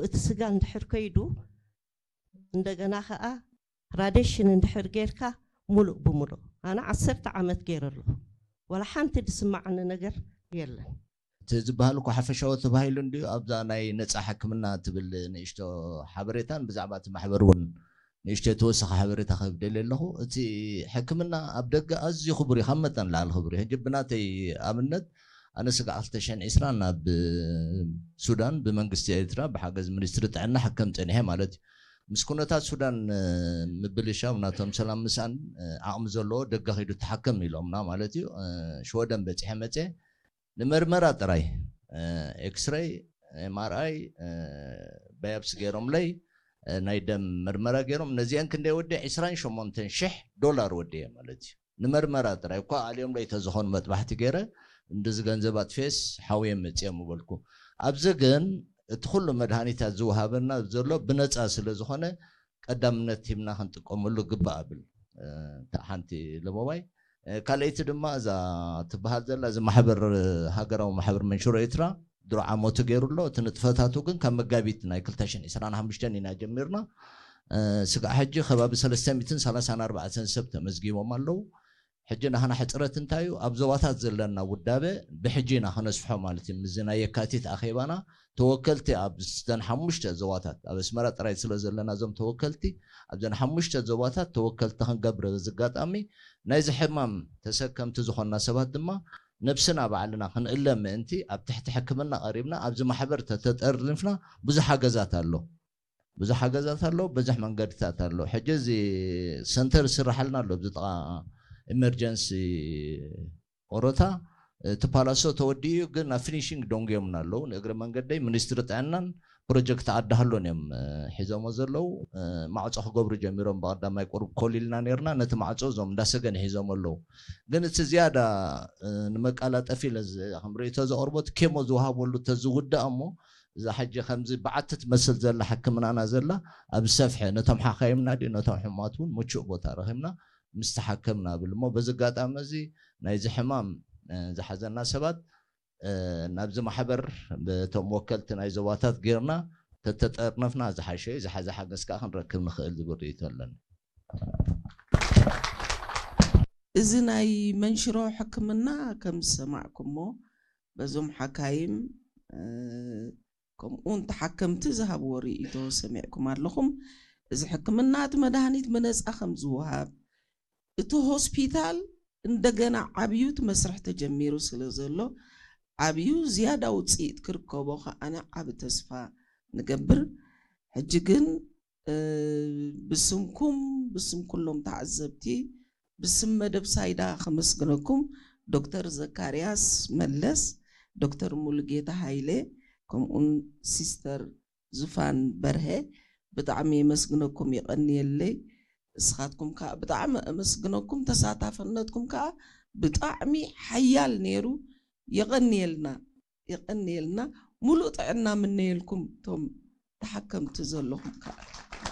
እቲ ስጋ እንድሕር ከይዱ እንደገና ከዓ ራዴሽን እንድሕር ጌርካ ሙሉእ ብሙሉእ ኣነ ዓሰርተ ዓመት ገይረ ኣለኹ። ዋላ ሓንቲ ዝስማዓኒ ነገር የለን። እቲ ዝበሃል እኮ ሓፈሻዊ ተባሂሉ እንድዩ ኣብዛ ናይ ነፃ ሕክምና ትብል ንእሽቶ ሓበሬታን ብዛዕባ እቲ ማሕበር እውን ንእሽቶ የተወሰኸ ሓበሬታ ክህብ ደልየ ኣለኹ። እቲ ሕክምና ኣብ ደገ ኣዝዩ ክቡር እዩ፣ ካብ መጠን ላዕሊ ክቡር እዩ። ሕጂ ብናተይ ኣብነት ኣነ ስጋዕ ክልተ ሽሕን ዕስራን ናብ ሱዳን ብመንግስቲ ኤርትራ ብሓገዝ ሚኒስትሪ ጥዕና ሕከም ፀኒሐ ማለት እዩ። ምስ ኩነታት ሱዳን ምብልሻው ናቶም ሰላም ምስኣን ዓቕሚ ዘለዎ ደገ ከይዱ ተሓከም ኢሎምና ማለት እዩ። ሽወደን በፂሐ መፅአ ንመርመራ ጥራይ ኤክስረይ፣ ኤምኣርኣይ፣ ባያፕሲ ገይሮምለይ፣ ናይ ደም መርመራ ገይሮም ነዚአን ክንደይ ወዲ ዕስራን ሸሞንተን ሽሕ ዶላር ወዲ እየ ማለት እዩ። ንመርመራ ጥራይ እኳ ኣልዮምለይ ተዝኾኑ መጥባሕቲ ገይረ እንደዚ ገንዘብ ኣጥፌስ ሓውየ መፅኦም ምበልኩ። ኣብዚ ግን እቲ ኩሉ መድሃኒታት ዝወሃበና ዘሎ ብነፃ ስለ ዝኾነ ቀዳምነት ሂብና ክንጥቀመሉ ግባእ ብል። እታ ሓንቲ ለሞባይ ካልኣይቲ ድማ እዛ ትበሃል ዘላ እዚ ማሕበር ሃገራዊ ማሕበር መንሽሮ ኤርትራ ድሮ ዓመቱ ገይሩ ኣሎ። እቲ ንጥፈታቱ ግን ካብ መጋቢት ናይ ክልተ ሽሕን ዕስራን ሓሙሽተን ኢና ጀሚርና። ስጋዕ ሕጂ ከባቢ ሰለስተ ሚእትን ሰላሳን ኣርባዕተን ሰብ ተመዝጊቦም ኣለዉ። ሕጂ ናህና ሕፅረት እንታይ እዩ? ኣብ ዞባታት ዘለና ውዳበ ብሕጂ ኢና ከነስፍሖ ማለት እዩ። ምስዚ ናይ የካቲት ኣኼባና ተወከልቲ ኣብ ዘን ሓሙሽተ ዞባታት ኣብ ኣስመራ ጥራይ ስለ ዘለና እዞም ተወከልቲ ኣብዘን ሓሙሽተ ዞባታት ተወከልቲ ክንገብር በዚ ኣጋጣሚ ናይዚ ሕማም ተሰከምቲ ዝኾንና ሰባት ድማ ነብስና ባዕልና ክንእለ ምእንቲ ኣብ ትሕቲ ሕክምና ቀሪብና ኣብዚ ማሕበር ተተጠርኒፍና ብዙሕ ሓገዛት ኣሎ። ብዙሕ ሓገዛት ኣሎ፣ ብዙሕ መንገድታት ኣሎ። ሕጂ እዚ ሰንተር ዝስራሓልና ኣሎ ኣብዚ ጥቓ ኢመርጀንሲ ኦሮታ እቲ ፓላሶ ተወዲኡ እዩ፣ ግን ኣብ ፊኒሽንግ ደንጉዮምና ኣለዉ። ንእግረ መንገደይ ሚኒስትሪ ጥዕናን ፕሮጀክት ዓዲ ሃሎን እዮም ሒዞሞ ዘለዉ። ማዕፆ ክገብሩ ጀሚሮም ብቐዳማይ ቁሩብ ኮሊልና ነርና። ነቲ ማዕፆ እዞም እንዳሰገን ሒዞሞ ኣለዉ። ግን እቲ ዝያዳ ንመቃላጠፊ ኢለ ከም ርእይቶ ዘቕርቦ እቲ ኬሞ ዝወሃበሉ ተዝውዳእ እሞ እዛ ሕጂ ከምዚ በዓቲ ትመስል ዘላ ሕክምናና ዘላ ኣብ ዝሰፍሐ ነቶም ሓካይምና ድዩ ነቶም ሕሙማት እውን ምቹእ ቦታ ረኺብና ምስ ተሓከምና ብል እሞ በዚ ኣጋጣሚ እዚ ናይዚ ሕማም ዝሓዘና ሰባት ናብዚ ማሕበር በቶም ወከልቲ ናይ ዞባታት ጌርና ተተጠርነፍና ዝሓሸ እዩ። ዝሓዘ ሓገዝ ከዓ ክንረክብ ንኽእል ዝብል ርእይቶ ኣለኒ። እዚ ናይ መንሽሮ ሕክምና ከም ዝሰማዕኩሞ በዞም ሓካይም ከምኡውን ተሓከምቲ ዝሃብዎ ርእይቶ ሰሚዕኩም ኣለኹም። እዚ ሕክምና እቲ መድሃኒት ብነፃ ከም ዝወሃብ እቲ ሆስፒታል እንደገና ዓብዩ እቲ መስርሕ ተጀሚሩ ስለ ዘሎ ዓብዩ ዝያዳ ውፅኢት ክርከቦ ከዓነ ዓብ ተስፋ ንገብር። ሕጂ ግን ብስምኩም ብስም ኩሎም ተዓዘብቲ ብስም መደብ ሳይዳ ከመስግነኩም ዶክተር ዘካርያስ መለስ፣ ዶክተር ሙሉጌታ ሃይለ ከምኡን ሲስተር ዙፋን በርሀ ብጣዕሚ የመስግነኩም የቐንየለይ። እስኻትኩም ከዓ ብጣዕሚ ኣመስግነኩም ተሳታፍነትኩም ከዓ ብጣዕሚ ሓያል ነይሩ። የቐንየልና የቐንየልና። ሙሉእ ጥዕና ምነየልኩም እቶም ተሓከምቲ ዘለኹም ከዓ።